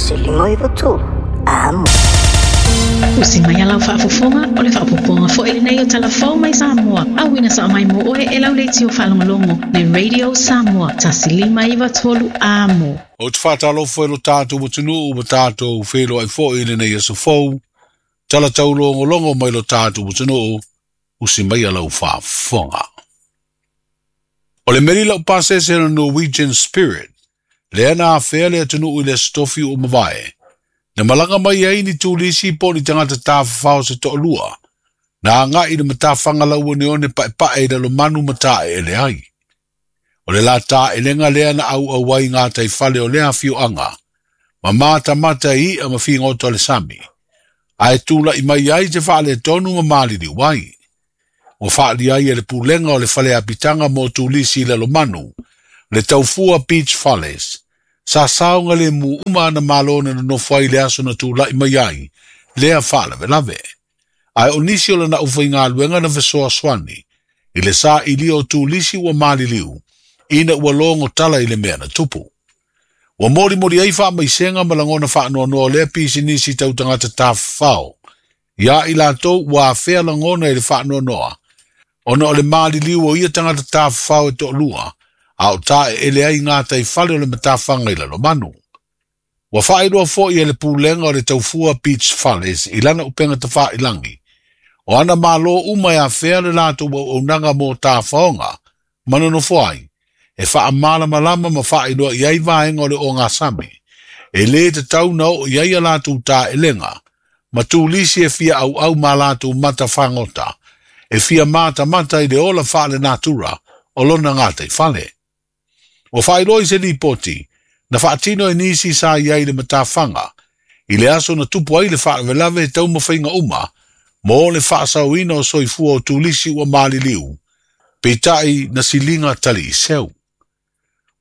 1 5 9 3 Amo. Usi mai lau faafofoga o le faaopoopoga foi lenei o Talafou mai Samoa. Auina sao mai mo oe e lau leitio faalogologo le Radio Samoa 1 5 9 3 Amo. Ou te faatalofa i lo tatou atunuu ma tatou feiloai foi i lenei aso fou. Tala taulogologo mai lo tatou atunuu, usi mai lau faafofoga. O le meli laupasese o Norwegian Spirit, lea na afea le atunuu i le Aso Tofi ua mavae, na malaga mai ai ni turisi po o ni tagata tafafao se toalua, na agai i le matafaga lauoneone paepae i lalomanu ma taeele ai. O le la taelega lea na auau ai gataifale o lea afioaga, ma matamata i i'a ma figota o le sami, ae tula'i mai ai se faaletonu ma maliliu ai. Ua faaalia ai e le pulega o le fale apitaga mo turisi i lalomanu, le Taufua Beach Fales, sa saogalemu uma ana malo na nonofo ai i le aso na tula'i mai ai lea faalavelave. Ae o nisi o lana aufaigaluega na fesoasoani i le sailia o turisi ua maliliu ina ua logo tala i le mea na tupu. Ua molimoli ai faamaisega ma lagona faanoanoa o lea pisinisi tau tagata tafafao ia i latou ua afea lagona i le faanoanoa ona o le maliliu o ia tagata tafafao e toalua a o taeele ai gataifale o le matafaga i lalomanu. Ua faailoa foi e le pulega o le Taufua Beach Fales i lana upega tafailagi, o ana malo uma e afea le latou auaunaga mo tafaoga ma nonofo ai, e faamalamalama ma faailoa i ai vaega o le ogasami, e lē tatau na oo i ai a latou taelega, ma turisi e fia auau ma latou mata fagota, e fia matamata i le ola faalenatura o lona gataifale. Ua faailoa i se lipoti, na faatino e nisi sa i ai i le matafaga, i le aso na tupu ai le faalavelave e taumafaiga uma, mo le faasaoina o soifua o turisi ua maliliu, peitai na siliga taliiseu.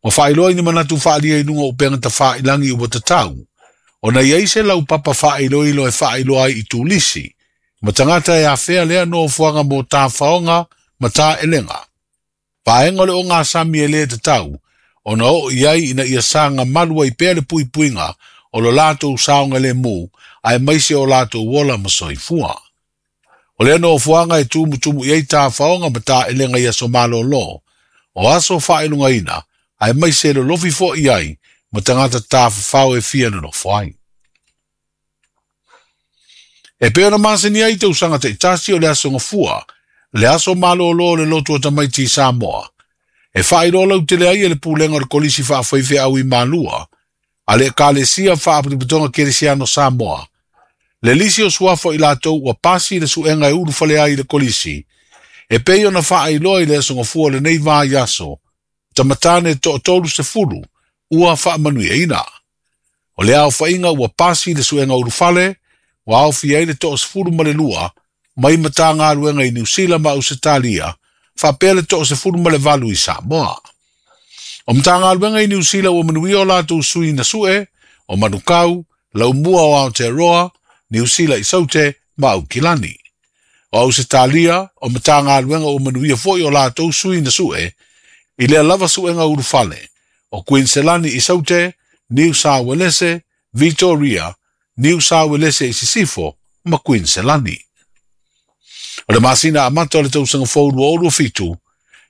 Ua faailoa i ni manatu faaalia i luga o upega tafailagi ua tatau, ona i ai se laupapa faailoilo e faailoa ai i turisi, ma tagata e afea lea nofoaga mo tafaoga ma taelega. Vaega o le ogasami e lē tatau, ona oo i ai ina ia saga malu ai pea le puipuiga o lo latou saogalemu aemaise o latou ola ma soifua. O lea nofoaga e tumutumu i ai tafaoga ma taelega i aso malolo, o aso faailogaina, aemaise e lolofi foi ai ma tagata tafafao e fia nonofo ai. E pei ona masani ai i tausaga taitasi o le aso Gafua, le aso malolo o le lotu o tamaiti i Samoa, e faailoa lautele ai e le pulega o le Kolisi Faafaifeau i Malua, a le Ekalesia Faapotopotoga Kerisiano Samoa, le lisi o suafa o i latou ua pasi le suega e ulufale ai i le Kolisi, e pei ona faailoa i le aso Gafua o lenei vaiaso, tamatane e 30 ua faamanuiaina. O le aofaiga ua pasi le suega ulufale, ua aofia ai le 12 mai Matagaluega i Niu Sila ma Ausetalia, faapea le 18 i Samoa. O Matagaluega i Niu Sila ua manuia o latou sui na sue, o Manukau, Laumua o Aotearoa, Niu Sila i Saute ma Aukilani. O Ausetalia, o Matagaluega ua manuia foi o latou sui na sue, i lea lava suega ulufale, o Kuiniselani i Saute, Niu Sauelese, Vitoria, Niu Sauelese i Sisifo ma Kuiniselani. O le masina amata o le tausaga fou 2027,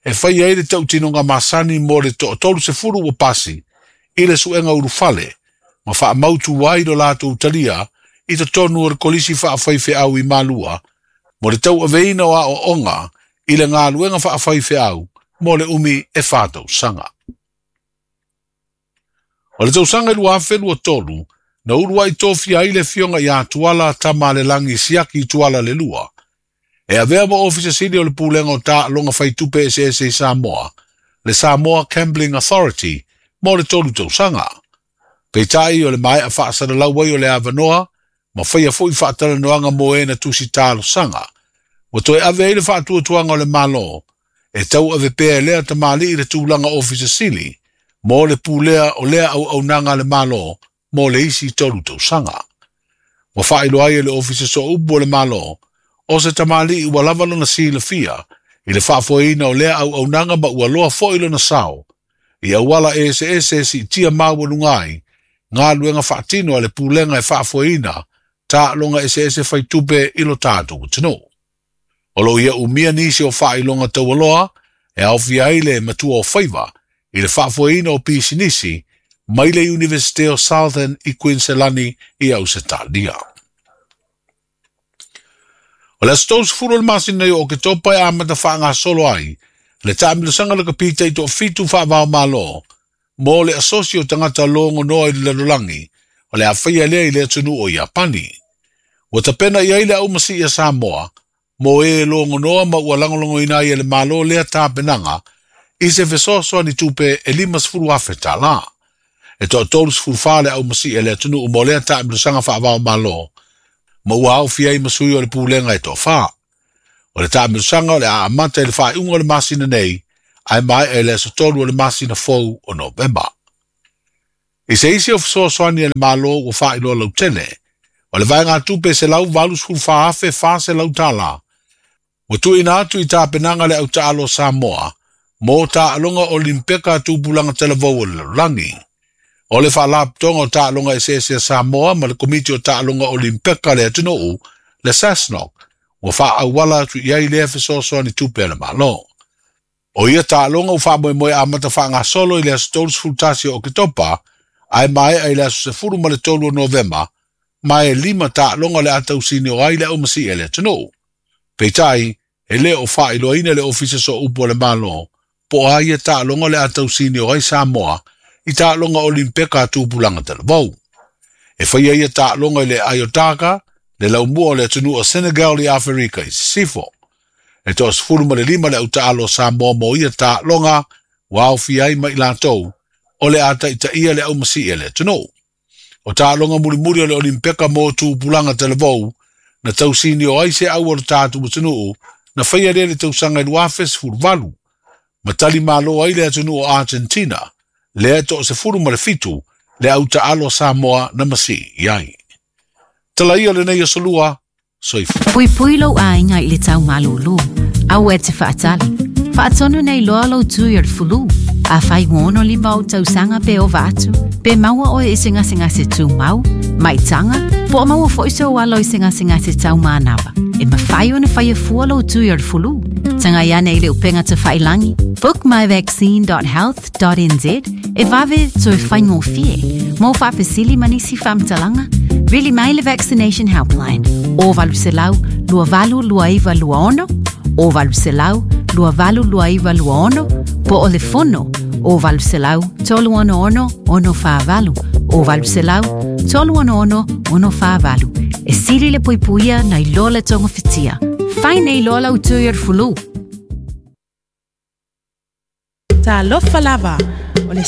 e faia ai le tautinoga masani mo le 30 ua pasi i le suega ulufale, ma faamautu ai lo latou talia i totonu o le Kolisi Faafaifeau i Malua, mo le tauaveina o aoaoga i le galuega faafaifeau mo le umi e 4 tausaga. O le tausaga i 2023, na uluai tofia ai le afioga ia Tuala Tamalelagi Siaki Tuala le Lua, e avea ma Ofisa Sili o le Pulega o Taaloga Faitupe Eseese i Samoa, le Samoa Gambling Authority, mo le 3 tausaga. Peitai o le maea faasalalau ai o le avanoa, ma faia foi faatalanoaga mo e na tusi talosaga, ua toe ave ai le faatuatuaga o le Malo, e tauave pea e lea tamalii le tulaga Ofisa Sili, mo le pulea o lea auaunaga a le Malo mo le isi 3 tausaga. Ua faailoa ai e le Ofisa Sooupu o le Malo, o se tamalii ua lava lona silafia i le faafoeina o lea auaunaga ma ua loa foi lona sao, i auala eseese e siitia maualuga ai galuega faatino a le pulega e faafoeina taaloga eseese faitupe i lo tatou atunuu. O loo ia umia nisi o faailoga taualoa e aofia ai le matua o faiva i le faafoeina o pisinisi mai le Iunivesite o Southern i Kuiniselani i Ausetalia. O le aso 30 o le masina nei o Oketopa e amata faagasolo ai le taamilosaga le kapita i toafitu faavao malo mo le asosi o tagata logonoa i le lalolagi o le afaia lea i le atunuu o Iapani. Ua tapena i ai le aumasii a Samoa mo e logonoa ma ua lagolagoina ai e le Malo lea tapenaga i se fesoasoani tupe e 50,000 tālā. E toa 34 le aumasii a le atunuu mo lea taamilosaga faavao malo ma ua aofia ai ma sui o le pulega e toafa. O le taamilosaga o le a amata i le faaiuga o le masina nei ae maea i le aso 3 o le masina fou o Novema. I se isi o fesoasoani a le Malo ua faailoa lautele, o le vaegatupe $184,400 tālā ua tuuina atu i tapenaga le autaalo o Samoa mo taaloga Olimpeka tupulaga talavou o le lalolagi. O le faalapotoga o taaloga eseese a Samoa ma le Komiti o Taaloga Olimpeka le atunuu, le SASNOC, ua faaauala atu i ai lea fesoasoani tupe a le Malo. O ia taaloga ua faamoemoe amata faagasolo i le aso 31 o Oketopa, ae maea i le aso 13 o Novema, ma e 5 taaloga o le a tausini o ai le aumasii a le atunuu. Peitai, e le o faailoaina le Ofisa Sooupu o le Malo, po o a ia taaloga o le a tausini o ai Samoa i taaloga Olimpeka a tupulaga talavou. E faia ia taaloga i le Aiotaka, le laumua o le atunuu o Senegal i Aferika i Sisifo. E toa 15 le autaalo o Samoa mo ia taaloga ua aofia ai ma i latou o le a taitaia le aumasii a le atunuu. O taaloga mulimuli o le Olimpeka mo tupulaga talavou na tausini o ai se au o le tatou atunuu na faia lea le tausaga i 2018. Ma tali malo ai le atunuu o Argentina, lea e toa 17 le autaalo Samoa na masii i ai. Tala ia lenei aso lua, soifua. Puipui lou aiga i le tau malūlū. Aua e te faatali. Faatonu nei loa lou tui o le fulu. Afai ua 65 ou tausaga pe ova atu, pe maua oe i se gasegase tumau, maitaga, po o maua foi sou alo i se gasegase taumanava. E mafai ona faia fua lou tui o le fulu. Tagai ane i le upega tafailagi, bookmyvaccine.health.nz e vave toe faigofie. Mo faafesili ma nisi faamatalaga, vili mai le Vaccination Helpline o 800 2829 26 o 800 2829 26 po o le fono o 800 366 648 o 800 366 648. E sili le puipuia nai lo le togafitia. Fai nei loa lau tui o le fulu. Talofa lava.